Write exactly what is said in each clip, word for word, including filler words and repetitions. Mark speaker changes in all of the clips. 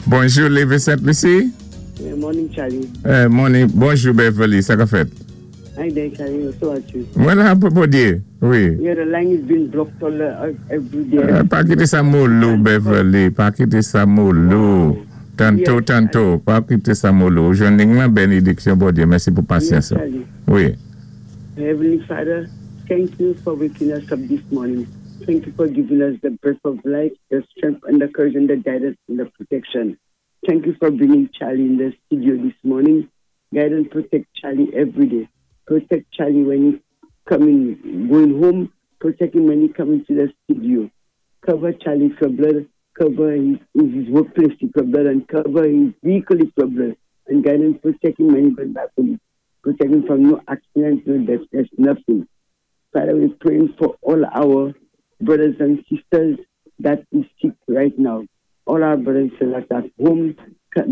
Speaker 1: Bonjou, Lévé Sent Lisi.
Speaker 2: Yeah, morning, Charlie.
Speaker 1: Eh, morning. Bonjou, Beverly. Sa ka fèt?
Speaker 2: Hi there, Charlie. So are you?
Speaker 1: Mwen la pou Bondyé. Wi.
Speaker 2: Yeah, the line is being blocked all uh, every day.
Speaker 1: Eh, pa kité sa molo, Beverly. Pa kité sa molo. Tanto,
Speaker 2: Yes.
Speaker 1: tanto. Pa kité sa molo. Jwenn la bénidiksyon, Bondyé. Mèsi pou pasyans.
Speaker 2: Yes, Charlie.
Speaker 1: Wi.
Speaker 2: Heavenly Father, thank you for waking us up this morning. Thank you for giving us the breath of life, the strength and the courage and the guidance and the protection. Thank you for bringing Charlie in the studio this morning. Guide and protect Charlie every day. Protect Charlie when he's coming, going home. Protect him when he coming to the studio. Cover Charlie with your blood. Cover his, his workplace with your blood and cover his vehicle with your blood. And guide and protect him when he goes back home. Protect him from no accident, no death, there's nothing. Father, we're praying for all our brothers and sisters that is sick right now. All our brothers and sisters that are at home,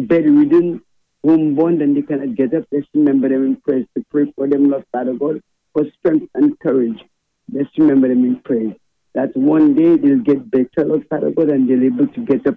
Speaker 2: bedridden, homebound, and they cannot get up. Let's remember them in prayers to pray for them, Lord Father God, for strength and courage. Let's remember them in prayers. That one day they'll get better, Lord Father God, and they'll be able to get up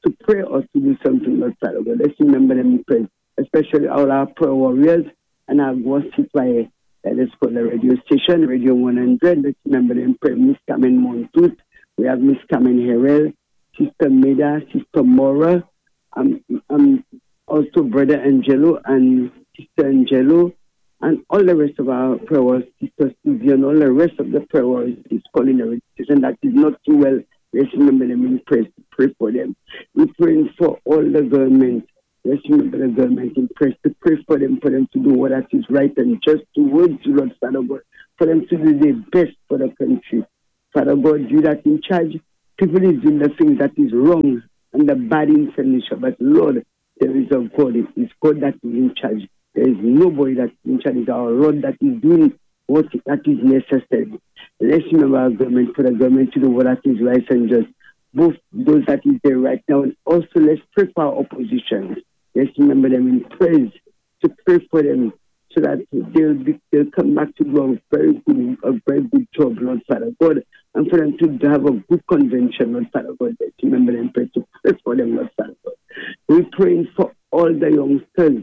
Speaker 2: to pray or to do something, Lord Father God. Let's remember them in prayers, especially all our prayer warriors and our Citoyen. That is called the radio station, Radio one hundred. Let's remember them in prayer. Miss Carmen Montut, we have Miss Carmen Herrell, Sister Meda, Sister Mora, um, um, also Brother Angelo and Sister Angelo, and all the rest of our prayer warriors, Sister Susie, and all the rest of the prayer warriors is calling the radio station that is not too well. Let's remember them in prayer, pray for them. We're praying for all the government. Let's remember the government in prayer, to pray for them, for them to do what that is right and just towards you, Lord Father God, for them to do their best for the country. Father God, you that in charge, people is doing the things that is wrong and the bad in Lucia. But Lord, there is a God. It is God that is in charge. There is nobody that is in charge. It's our Lord that is doing what that is necessary. Let's remember our government, for the government to do what that is right and just. Both those that is there right now, and also let's pray for our opposition. Let's remember them in prayers, to pray for them so that they'll be, they'll come back to do a very good a very good job, Lord Father God, and for them to have a good convention, Lord Father God. Let's remember them, pray to pray for them, Lord Father God. We're praying for all the youngsters.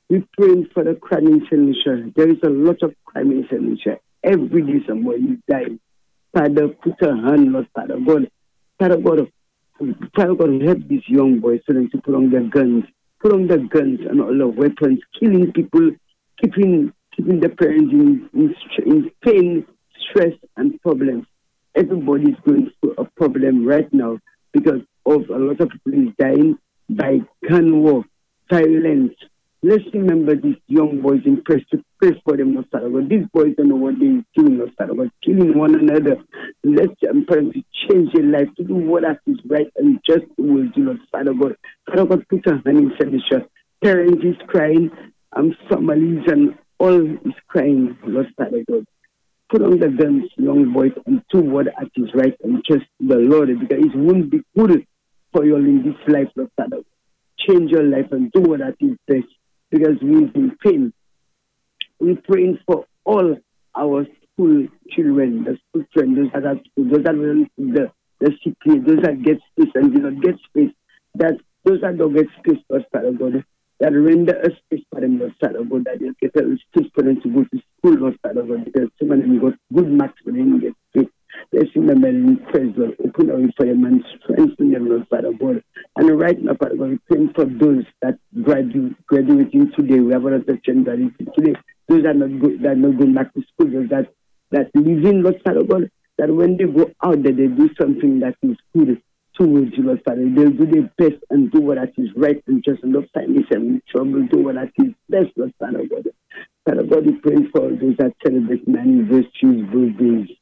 Speaker 2: We're praying for the crime in Saint Lucia. There is a lot of crime in Saint Lucia. Every day somebody is dying. Father, put a hand, Lord Father God. Father God, Father God, help these young boys so them to put on their guns, put on their guns and all the weapons, killing people, keeping keeping the parents in, in, in pain, stress, and problems. Everybody is going through a problem right now because of a lot of people is dying by gun war, violence. Let's remember these young boys in press to pray for them, Lord Father God. These boys don't know what they're doing, Lord Father God, killing one another. Let's them to change their life, to do what is right and just will do, Lord Father God. Father God, put a hand in Lucia. Parents is crying, um, families and all is crying, Lord Father God. Put on the guns, young boys, and do what is right and trust the Lord, because it won't be good for you all in this life, Lord Father. Change your life and do what is best because we're in pain. We're praying for all our school children, the school children, those that are school, those that will the, the C P A, those that get space and do not get space, that those that don't get space, Lord Father God, that render a space for them, Lord Father God, that they'll get a space for them to go to school, Lord Father God, because some of them got good marks but they didn't get space. Let's remember in praise, Lord, open our for them and strengthen them, Lord Father God. And right now, Father God, we praying for those that graduate, graduating today. We have another children graduating today. Those that are not, go, that are not going back to school, those that, that living, Lord Father God, that when they go out there, they do something that is good towards you, Lord Father. They'll do their best and do what that is right and just and not find themselves in trouble, do what that is best, Lord Father God. Father God, we pray for those that celebrate anniversaries, birthdays.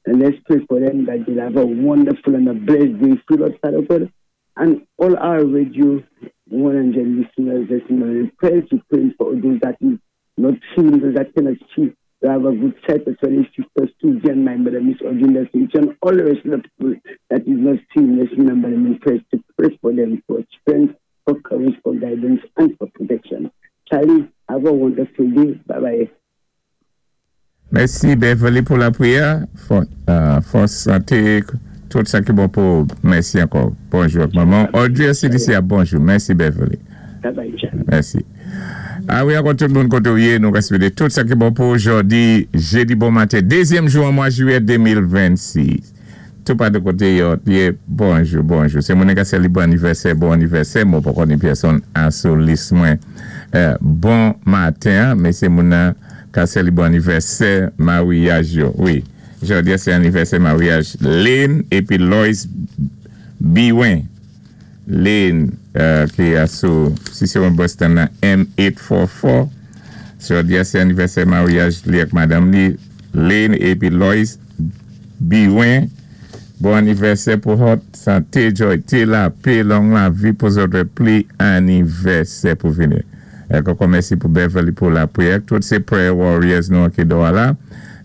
Speaker 2: And let's pray for them that they'll have a wonderful and a blessed day, free, Lord Father God. And all our Radio one hundred listeners, let's remember prayers to pray for those that is not seeing, those that cannot see, to have a good sight, as well as Sister Susie and my mother, Miss Audrey, and all the rest of the people that is not seeing. Let's remember them in prayers to pray for them for strength, for courage, for guidance, and for protection. Charlie, have a wonderful day. Bye bye.
Speaker 1: Mèsi, Beverly, pou lapwiyè. Fòs santé, Tout sa ki bon pou, mèsi ankò. Bonjou, manman. Audrey C D C, bonjou. Mèsi, Beverly.
Speaker 2: Bye bye, Charlie.
Speaker 1: Mèsi. A wi, ankò tout moun koté ou yé, nou swété tout sa ki bon pou jòdi, jédi bon maten, dézyèm jou an mwa jwiyè de mil vennsis. Tout pa de koté yo, yé, bonjou, bonjou. Sé moun ka séli bon anivèsè, bon anivèsè, mwen pa konnen pèsonn an sou lis mwen. Euh, bon maten, men sé moun ka séli bon anivèsè, maryaj yo. Wi, jòdi sé anivèsè maryaj Lynn épi Lois Biwen. Lynn, euh, ki a sou, si sé yon Boston nan M eight four four. Jòdi sé anivèsè maryaj li ak madanm li, Lynn épi Lois Biwen. Bon anivèsè pou zòt, santé, joy, té, lapè, long lavi pou zòt, pli anivèsè pou vini. É ankò mèsi pou Beverly pou lapriyè. Tout sé prayer warriors nou ki dò la.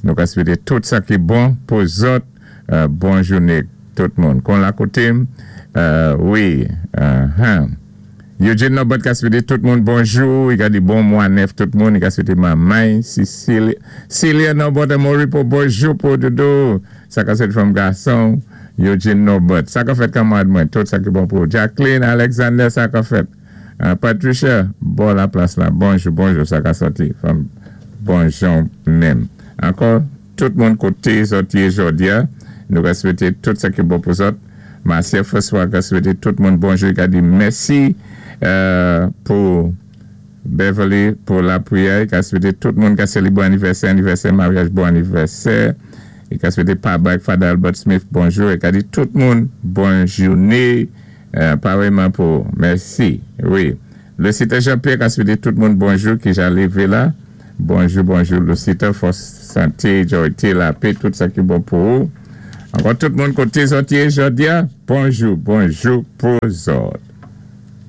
Speaker 1: Nou ka swété tout sa ki bon pou zòt. Euh, bon jouné tout moun. Kon la koté, euh, wi, uh, huh. Eugene Norbert ka swété tout moun bonjou, i ka di bon mwa nèf tout moun, i ka swété manman, Cecilia, Celia Norbert Moripo, bonjou pou doudou, sa ka swété fanm gason, Eugene Norbert, sa ka fèt kanmarad mwen, tout sa ki bon pou Jacqueline Alexander, sa ka fèt, uh, Patricia, bon la plas la, bonjou, bonjou, sa ka sòti, fanm, bonjou menm. Ankò, tout moun koté zòt yé jòdi a, nou ka swété tout sa ki bon pou zòt. Marcia François ka swété tout moun bonjou, ka di mèsi euh, pou Beverly pou lapriyè, ka swété tout moun ka séli bon anivèsè, anivèsè maryaj, bon anivèsè. É ka swété Papa ak Father Albert Smith bonjou, é ka di tout moun bon jouné, euh, parèyman pou mèsi. Wi. Lucita Jean-Pierre ka swété tout moun bonjou ki ja lévé la. Bonjou, bonjou, Lucita, fòs santé, joy, lapè, tout sa ki bon pou ou. Ankò tout moun koté zòt yé jòdi a, bonjou, bonjou pou zòt.